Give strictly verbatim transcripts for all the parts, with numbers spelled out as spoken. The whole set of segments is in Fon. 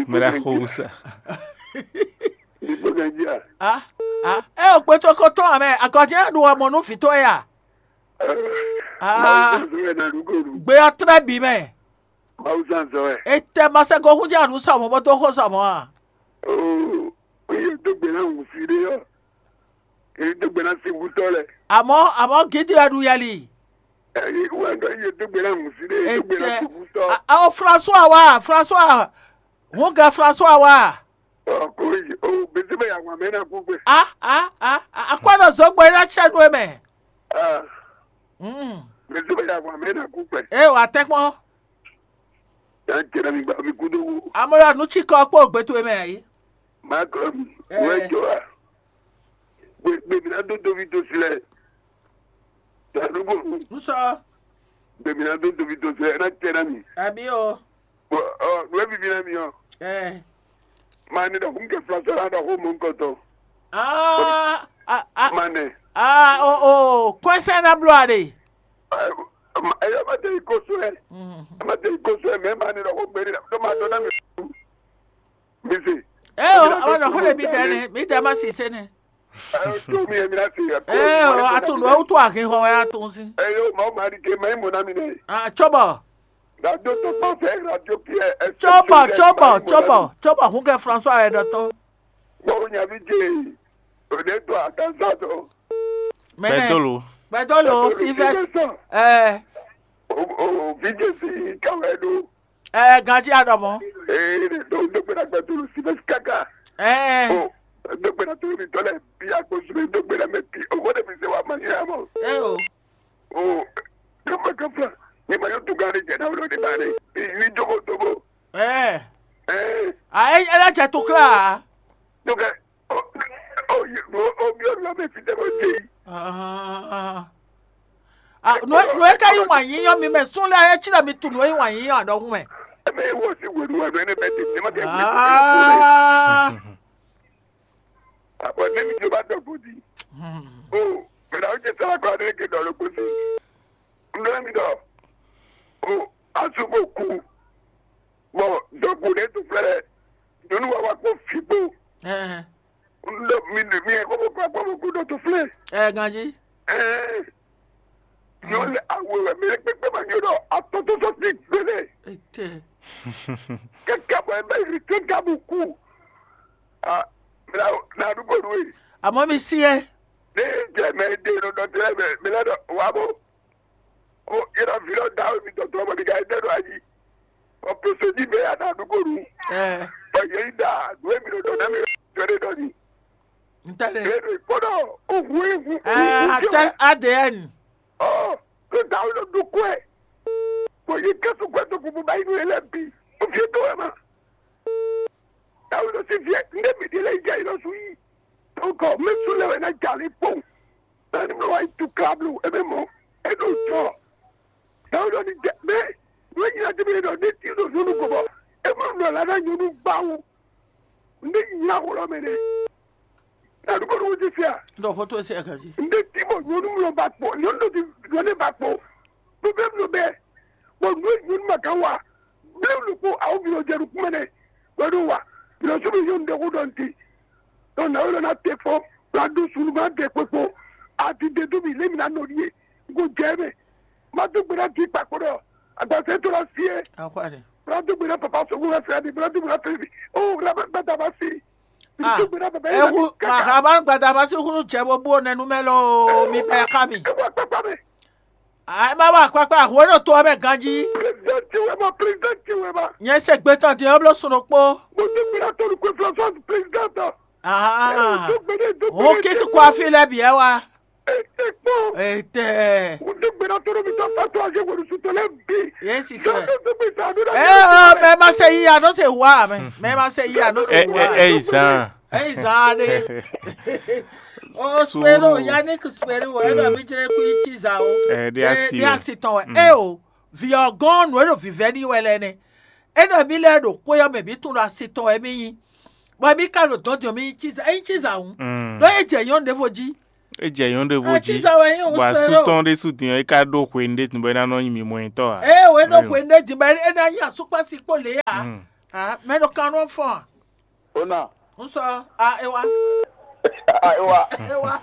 Mira Rosa. Ìgbó nàìjíríà. Ah, ah. Ẹ ò gbé tó kó tán àmẹ àgọ́jẹ́ àdúrà mọ̀ nú fìtó ẹ̀ à. Ah. Mawusa sọ ẹ na lugolu. Gbé ɔ́ trɛ́ bǐ mɛ. Mawusa sọ ẹ. Ètè masẹ́gun hún jẹ́ àdúrà sọ̀mọ́ bó tó kó sọ̀mọ́ à. Ooo. Oye dógbe náà wù sí ɖé yɔ. Èyí dógbe náà sí wútọ́ lẹ. Àmọ́ àmọ́ gidi wɛ ɖu yɛli. Èyí wà ń dọ́ iye dógbe náà wù sí ɖé. Dógbe náà sí wútọ́. Àwọn François wa François. Hún gɛ François wa. Ɔ kò yí o bẹ́sẹ̀ bẹ́ẹ̀ yà wà mí náà kú pé. A a a a akwádọ̀ zɔgbɔ yìí láti ṣẹ́nu ẹ̀ mẹ́. Ah, Mm. bẹ́sẹ̀ bẹ́ẹ̀ yà wà mí náà kú pé. Ẹ wà tẹ́kpọ́n. Yà ń tẹ̀lé mi gba mi kú dó wú. Amọ̀rọ̀ àánú tí kọ́ pé ògbé tó ẹ̀ mẹ́ yìí. Má kọ́ mi. Ẹ. Wẹ́ jọ wa. Gbèmí náà dó dóbi tó sílẹ̀. Tàdúgbò. N sọ Gbèmí náà dó dóbi tó sílẹ̀. Ẹ náà tẹ̀lé mi. àbí o. Bɔn ɔ nùwẹ́ bíbí náà mi ɔ. Ẹ. Máa ní dɔ̀kú ń kẹ́ fúlọ́sọ́ náà dɔ̀kú mú nǹkan tán. Ah ah ah Máa nẹ. ah o o kɔnsɛn na blo a de. Ẹ yọ ma tẹ ikó sún ẹ. Ẹ ma tẹ ikó sún ẹ mẹ máa ní dɔ̀kú gbé ní dɔ̀kú máa dọ́ náà mi. Mi se. Ẹ o àwọn ọ̀nà kó lè mi dẹ ni mi dẹ ma sì se ni. Ẹ tó mi ẹ mi náà se. Ẹ o àtúndò ẹ wútu àhín hɔ ẹ àtún sí. Ẹ yóò máa ma di ké mẹ́ mọ̀ náà mi nẹ. Ah tsɔbɔ. Radio tó kpọ́ fẹ́ radio kí ẹ. Tsɔbɔ tsɔbɔ tsɔbɔ tsɔbɔ hún kɛ François ɛ dɔ tɔn. Bọ́ọ̀ ní àbí jẹ́ òde tó àtàzà tó. Mɛnɛ Pɛdolo. Pɛdolo Sylvestre. Ɛ O o fi jẹ́ sí káwé ló. ɛ ganji adɔmɔ. Ee tó dókpéra gbẹdúró sí bẹ́ẹ̀ káká. Ɛ O dókpéra tó mi tọ́lẹ̀ bí agbósùnmí dókpéra mẹ́ bí owó dẹ̀ mi ṣe wà máa yá mọ́. ɛ o. O dókpéra kan fún mi ma yóò tún kárí jẹ náà lóde bá rẹ ní jókòó tó bó. Ɛ Ee a ɛ ɛ lɛ jɛ to kla. dókè o o o bí ọ̀nà mi fi dẹ́gbẹ́ jẹ yìí. Ah. Ah, no no e ka yi wan yi yɔ mi mɛ sun lɛ e tsi na mi tu no e wan yi yɔ adɔgun mɛ. Ẹ bẹ wọ sí wẹ̀lú wẹ̀lú ẹni bẹ tètè má kẹ́ wẹ̀lú. Ah. Àbọ̀ níbi tí o bá dọ̀gbọ́n di. Hmm. O mẹ̀rẹ̀ àwọn jẹ sára kọ́ adé ké dọ̀rọ̀ kó sí. Ndọ́lá mi dọ̀. O asopọ̀ kú. Bọ̀ dọ̀gbọ́n lè tún fẹ́rẹ̀. Nyɔnu wa wa kó fìgbó. Ɛ Ndọ́ mi nì mi ẹ̀ kó kó kó kó kó dọ̀ tún fẹ́rẹ̀. ɛ ganji. Ɛɛ. Nyɔ lɛ awo wɛ mi kpekpe ma nyɔ dɔ atɔtɔtɔ ti gbele. Ete. Kɛkɛ bɔ ɛbɛ yi kɛkɛ bu ku. A na na du ko du yi. Àmọ́ mi sí ẹ. Ne jɛ mɛ de nɔ dɔ tɛ mɛ mi lɛ dɔ wa bo. O yɛrɛ vi lɔ da mi dɔ tɔ mɔ mi ka ɛdɛ dɔ ayi. O pese di bɛ ya na du ko du. Ɛ Ɔ yɛ yi da do mi dɔ dɔ na mi dɔ de dɔ ni. n tẹ́lẹ̀. Bɛ do kpɔdɔ o hu ehu. Ɛ atɛ A D N. Ɔ ko da o lɔ du kɔɛ. Ko yi kɛsu kɔɛ to bubu ba yi nu yɛ lɛ bi. O fi to wɛ ma. Dawu lɔ si fiɛ ndé mi ɖi lɛ yi jɛ yi lɔ su yi. Tɔnkɔ mɛ su lɛ wɛ na ja li kpɔn. Nani mɛ wa yi tu kablu ebe mɔ eɖo jɔ. Dawu lɔ ni jɛ mɛ nu e nyina ti mi ɖɔ ne ti ɖo zonu ko bɔ e ma nɔ la na nyɔnu gbawo. Ndé nyina xo lɔ mɛ nɛ. Dawu ko ɖo wo ti fia. N dɔ foto ese ɛ kasi. Ndé ti bɔ nyɔnu lɔ ba kpɔ nyɔnu lɔ ti nyɔnu ba kpɔ. Bɛbɛ mi bɛ. Bɔ nu e nyɔnu ma kan wa. Bɛbɛ mi ko awo mi lɔ jɛ nu kumɛ nɛ. Wɛ ɖo wa. Mi lɔ so mi yɔ ndé ko dɔn ti. Dɔn na wɛ lɔ na te kpɔ. La do sunu ma de kpekpo. A ti de do mi lé mi na nɔ die. N ko jɛ mɛ. Ma do gbera di kpakpo dɔ. Agbasɛ to la fie. Akwari. Ma do gbera papa so ko fɛ di. Ma do gbera fɛ di. O la ma gbada ma si. Ah, Do gbera papa. Ewu màkàbá gbadama sí kúrú jẹ gbogbo nẹnu mẹ lọ mi bẹ ká mi. Ewu akpakpa mɛ. Ẹ má wà pápá àwọn èèyàn tó ọbẹ̀ ganjí. President ti wɛ ma, president ti wɛ ma. Yẹn ṣe gbé tán di ọblọ sọ̀rọ̀ pọ̀. Mo ti gbera tolu kwe fila sọ president. Ah, Tó gbede tó Òun kí tó kó àfi lẹ́bi ẹ wa. Ete kpɔ. Ètè. Mo ti gbera tolu mi tɔ fa to ase wòle su tɔ lɛ bi. Yẹn sì sọ. Tó gbé sa do la. Ẹ ẹ mẹ ma ṣe yíya ló ṣe wá mẹ. Mẹ ma ṣe yíya ló ṣe Ẹ wá. ẹ ẹ ìzàn. Ẹ ìzàn ni. O spero, Yannick spero, ẹ lọ mi jẹ kú yìí tí zà o. Ẹ di asi Bí o. a sì tán wẹ. Ẹ o, vi ọgán nù ẹ lọ vivẹ ní wẹ lẹ nẹ. Ẹ nà mí lẹ ɖo kpóyọ mẹ mí tún lọ asi tán wẹ mí yín. Bɔ mí ká lò dɔn diɔ mí yín tí zà, ẹ yín tí zà o. Mm. Lọ yẹ jẹ yọ ndé vo jí. É jɛ nyɔ̌nu ɖěvo jí, bɔ asú tɔn ɖésú din ɔ́, é ka ɖó hwenu ɖé din bɔ é ná nɔ nyí mimɔnyitɔ́ ǎ. Ée wě ɖo hwenu ɖé din bɔ é ná nyí asúkpási kpó lě ǎ. Mɛ ɖo kan nɔ fɔn a? Ona. N sɔ a é wá. A é wá. É wá.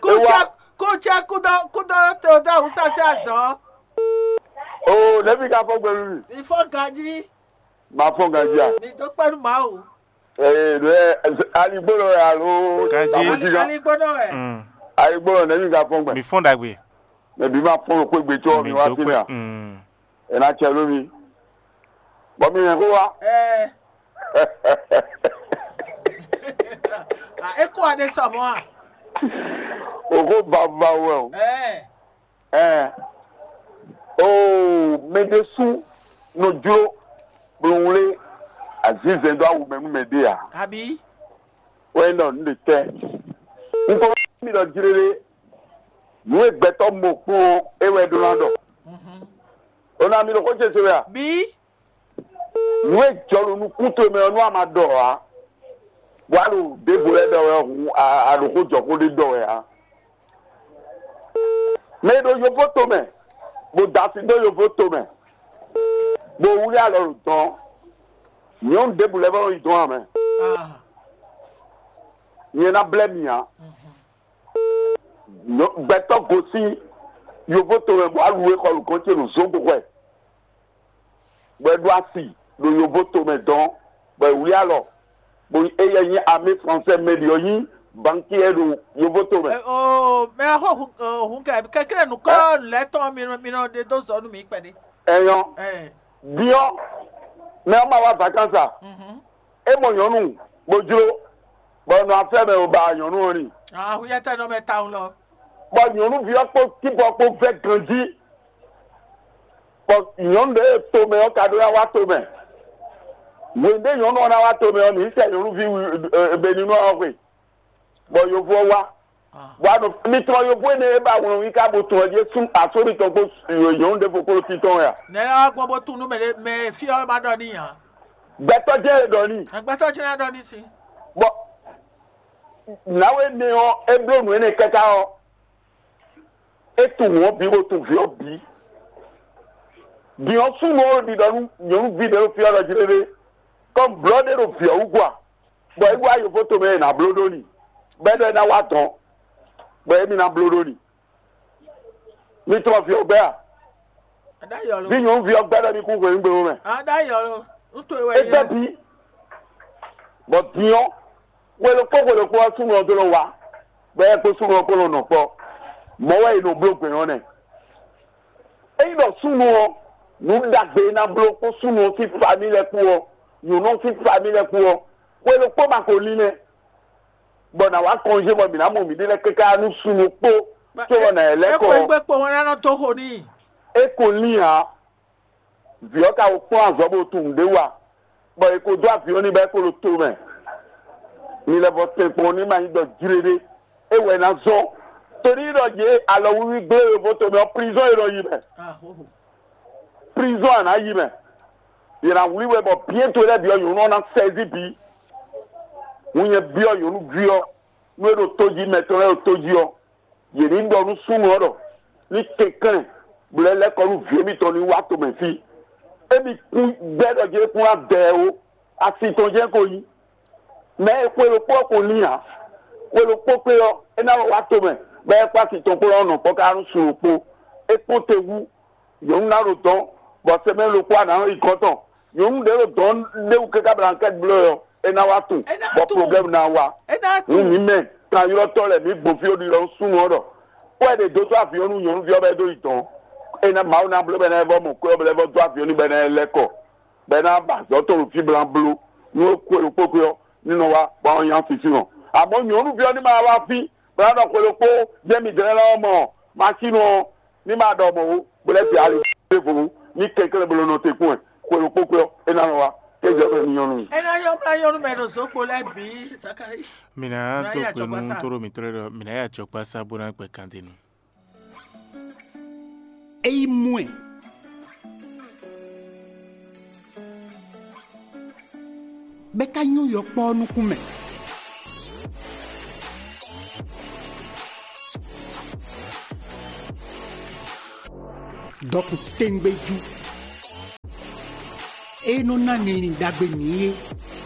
Kútsɛ kútsɛ kúdɔ kúdɔ tó dá wúsá sí azɔ̌. O nɛ̌ mi ka fɔ gbɛlú mi? Mi fɔ ganjí. Ma fɔ ganjí a? Mi dó kpɛ́ nú Mawu. Ee ɖo ɛ aligbólɔ wɛ alo? Ganjí. Amojigan. Aligbólɔ wɛ. Aligbólɔ nɛ̌ mi ka fɔ gbɛ? Mi fɔ́n ɖagbe. Mɛ bǐ ma fɔ́n ɖo xwé gbe có mi wá fínɛ́ a? Ɛ ná cɛ nú mi. Bɔ mi hɛn xó wá. Ɛ. A é kó aɖé sɔ mɔ̌ a? Òxó bavúbavú wɛ o. Ɛ. Ɛɛ. Oo mɛ ɖésú nɔ jló blowlé azǐzɛ́n dó awu mɛ nú mɛ ɖé ǎ. Abǐ. Wɛ nɔ nǔ ɖe tɛ́. Un ko mi ɖɔ jlélé. Nǔ e gbɛtɔ́ mo kpɔ́n é wɛ ɖó ná ɖɔ. Ó ná mi ɖo xó ce se wɛ a? Bǐ. Nǔ e jɔ ɖo nukún towe mɛ ɔ́ nú a ma ɖɔ ǎ. Bɔ a ɖo ɖěvo lɛ́ɛ ɖɔ wɛ hǔn a ɖo xó jɔ xó ɖé ɖɔ wɛ ǎ. Mɛ e ɖo yovó tomɛ, bó da asi dó yovó tomɛ, bó wlí alɔ ɖo dɔn, nyɔ̌nu ɖěbǔ lɛ́ɛ vɔ nɔ yi dɔn ǎ mɛ. Nyɛ ná blɛ́ mi ǎ. Gbɛtɔ́ gosín yovó tomɛ bɔ alu e xɔ lǔgɔ́n ce ɖo zǒgbó hwɛ, bɔ é ɖó asi ɖo yovó tomɛ dɔn, bɔ è wlí alɔ, bɔ éyɛ́ nyí amé fransɛ mɛ ɖi ɔ́ nyí bankiɛ ɖo yovó tomɛ. Oo, mɛ ɔ́ xo hun kɛ kɛkɛ́ nukɔ lɛ́ tɔn mi nɔ mi nɔ ɖe dó zɔ nú mi kpɛɖé. Ɛyɔ, biɔ, mɛ ɔ́ ma wá vacances a? É mɔ nyɔ̌nu bó jló, bɔ nɔ afɛ mɛ ò ba nyɔ̌nu ɔ́ ni. Ahuyɛtɛnɔ mɛ tawun lɔ. Bɔ nyɔ̌nuví ɔ́ kpó tíbɔ kpó vɛ́ ganjí, bɔ nyɔ̌nu ɖě e tomɛ ɔ́ ka ɖó ná wá tomɛ. Hwenu ɖé nyɔ̌nu ɔ́ ná wá tomɛ ɔ́, mǐ sɛ nyɔ̌nuví Beninu ɔ́ xwe, bɔ yovo ɔ́ wá. Bɔ a nɔ mi tlɔ yovo énɛ́ e ba wlɔn yíká bo tun ɔ́ jí sú asú mitɔn kpó nyɔ̌nu ɖěvo kpó fí tɔn wɛ a? Nɛ̌ lɛ́ wá gbɔn bó tunú mɛ ɖé mɛ fí ɔ́ ma ɖɔ n'i ǎ. Gbɛtɔ́ jɛ́n e ɖɔ n'i. Gbɛtɔ́ jɛ́n ná ɖɔ n'i sín. Bɔ nǎwe énɛ́ ɔ́, é bló nǔ énɛ́ káká ɔ́, é tunwun ɔ́ bǐ bó tunwun vǐ ɔ́ bǐ. Din ɔ́, súnnu ɔ́ ɖiɖɔ nú nyɔ̌nuví ɖě ɖo fí ɔ́ ɖɔ jí ɖéɖé, kɔn blɔ̌ ɖé ɖo vǐ ɔ́ wú gɔ́ a? Bɔ é wá yovo tomɛ e è nǎ bló ɖó n'i, bɔ é ɖɔ é ná wá dɔn, bɔ émí ná bló ɖó n'i. Mi tlɔ vǐ ɔ́ gbɛ́ a? Aɖáyɔ lo. Bí nyɔ̌nuví ɔ́ gbɛ́ ɖɔ ní kú hwenu gbé mɛ. Aɖáyɔ lo. Ŋutɔ ìwé É yẹn. Gbɛ́ bí. Bɔ din ɔ́, xwe ɖokpó xwe ɖokpó ɔ́ súnnu ɔ́ dó nɔ wá, bɔ é kpó súnnu ɔ́ kpó nɔ nɔ kpɔ́. Mɔ̌ wɛ è nɔ bló gbɛ̌ ɔ́ nɛ́. Ényí ɖɔ súnnu ɔ́, nǔ ɖagbe e ná bló kpó súnnu ɔ́ sín famí lɛ́ɛ kpó ɔ́, nyɔ̌nu ɔ́ sín famí lɛ́ɛ kpó ɔ́, xwe ɖokpó ma ko lín nɛ́. Bɔ nǎ wá kɔnjé bɔ mǐ ná mɔ mǐɖée lɛ́ɛ káká nú súnnu kpó, cóbɔ nǎ yi lɛ́ kɔ. Éxwé gbé kpo hɔn ná nɔ dó xo n'i. É ko lín ǎ. Vǐ ɔ́ ka ko kplɔ́n azɔ̌ bó tunwun nǔɖé wa, bɔ è ko dó avǐ ɔ́ n'i bɔ é ko ɖo to mɛ. Mi lɛ́ vɔ tɛn kpɔ́n ní ma nyí ɖɔ jlé ɖé, é wɛ ná zɔ́n. Torí ɖɔ jě alɔwíwí gblé yovo tomɛ ɔ́, prizɔ́n è nɔ yi mɛ. Prizɔ́n a nǎ yi mɛ. Yě ná wlí we bɔ byɛ́nto lɛ́ɛ bǐ ɔ́, nyɔ̌nu ɔ́ ná sɛzí bǐ. Hǔn nyɛ byɔ́ nyɔ̌nuví ɔ́, nú é ɖo tó jí, mɛ tɔn lɛ́ɛ ɖo tó jí ɔ́, yě ní ɖɔ nú súnnu ɔ́ ɖɔ ní kɛnklɛ́n, bɔ é lɛ́ kɔ nú vǐ émítɔn ní wá tomɛ fí. Émí kún gbɛ́ ɖɔ jí é kún ná dɛ ɛ ó, asi tɔn jɛ́n ko nyí. Mɛ e xwe ɖokpó ɔ́ ko lín ǎ. Xwe ɖokpó kpé ɔ́, é ná lɔ wá tomɛ, bɔ é kpó asi tɔn kplɔ́n nɔ kpɔ́ ká nú sun ɖokpó. É kpɔ́n te wú, nyɔ̌nu ná ɖo dɔn, bɔ sɛmɛ ɖokpó a nǎ nɔ yi gɔ́ tɔn. Nyɔ̌nu ɖě ɖo dɔn ɖé wú káká bla kɛ́ bló ɔ́, é ná wá tunwun, bɔ problème ná wá. Nú mǐ mɛ kanylɔ́tɔ́ lɛ́ɛ mǐ gbɔn fí ɖo ɖiɖɔ nú súnnu ɔ́ ɖɔ kpɔ́ ɛ ɖe dó tó avi ɔ́ nú nyɔ̌nuví ɔ́ bɔ é ɖó yi dɔn. É ná Mawu ná bló bɔ é ná vɔ mɔ kwɛ́ ɔ́ bɔ é vɔ dó avi ɔ́ nú bɔ é ná lɛ́ kɔ, bɔ é ná ba azɔ̌ tɔn ɖo fí bla bló. Nú é kú e ɖokpó kpé ɔ́, ní nɔ wá bɔ é nyá fífí hɔn. Amɔ̌ nyɔ̌nuví ɔ́ ní ma wá fí, bɔ é ná ɖɔ xwe ɖokpó jɛ́n midɛɛ lɛ́ɛ ɔ́ mɔ masínu ɔ́, ní ma ɖɔ mɔ̌ ó, bó lɛ́ bǐ ali ɖěvo ní kɛnklɛ́n bó nɔ te kpɔ́n ɛ, xwe ɖokpó kpé ɔ́, é ná nɔ wá, é jɛ xwe ní nyɔ́ nú mì. É ná nyɔ́ mlá nyɔ́ nú mɛ ɖo zǒgbo lɛ́ɛ bǐ, Zakalíi. Mǐ ná dó gbe nú tóɖó mǐtɔn lɛ́ɛ ɖɔ mǐ ná yi ajɔgbásá bó ná kpɛ kandenu. É yi mɔ ɛ, bɔ é ka nyɔ́ yɔkpɔ́ ɔ́ nukún mɛ. Dɔkun tɛ́ngbéjú. É nɔ ná linlin ɖagbe mǐ é.